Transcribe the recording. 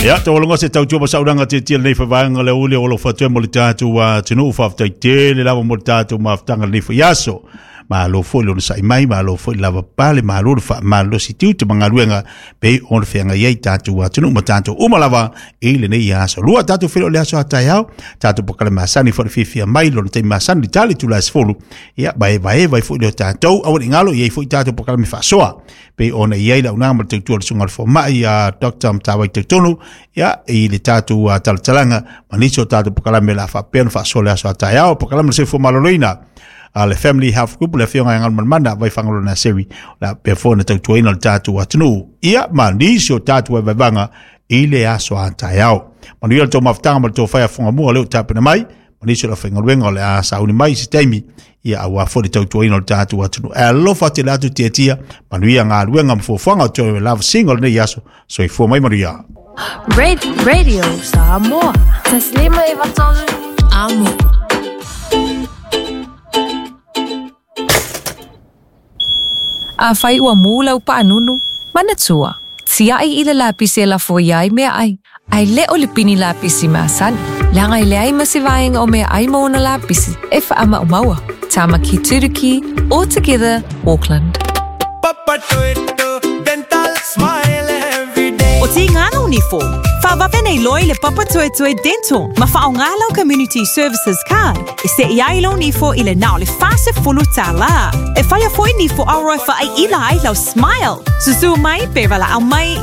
Ia, taualoga se tautua ma saunoaga tietie i lenei foi vaega o le aoauli o alofa atu ai mo le tatou atunuu. Faafetai tele lava mo le tatou mafutaga i lenei foi aso. Malo foi le onosai mai, malo foi le lavapapale, malo le faamalolosi tiute ma galuega pei ona feagai ai tatou atunuu ma tatou uma lava i lenei aso. Lua tatou feiloai i le aso a taeao, tatou polokalame masani foi le fiafia mai lona taimi masani i le tali itula e 10. Ia, vaevaeva ai foi lea o tatou, aua ne i galo, e i ai foi tatou polokalame faasoa pei ona i ai le auaunaga ma le tautua a le susuga i le fomai a Dr. Matavai Tautono, ia, i le tatou talatalaga ma nisi o tatou polokalame o le a faapea ona faasoa i le aso a taeao. Polokalame o le soifua maloloina a le Family Health Group, le afioga ia Galumalemana Vaifagaloa Naseri, o le a faapea foi ona tautuaina le tatou atunuu, ia, ma nisi o tatou vaevaevaga i le aso a taeao. Manuia le tou mafutaga ma le tou fai a fogamua o lea ua tapena mai, ma nisi o le aufaigaluega o le a sauni mai i se taimi, ia, aua foi le tautuaina o le tatou atunuu. E alofa tele atu Tiatia, manuia galuega ma fuafuaga o toe lavasiga o lenei aso. Soifua mai manuia. Radio Samoa. Taslima e vatolu. Amo. Afai ua mū lau paanunu, manatua, tiai i le lapisi e lafo ia ai meaai, ae le o le pini lapisi masani, leaga e leai ma se vaega o meaai ma ona lapisi e faamaumaua. Tamaki Turuki, all together, Auckland. Papatoetoe Dental Smile every day. O Tīngana o Nifo, whawawe nei loi le Papatoetoe Dental ma whaonga lau Community Services Card e se'i ai lou nifo i le na o le $40. E whaia foi nifo aroa whaai ila ai lau smile. Susu mai pe valaau mai.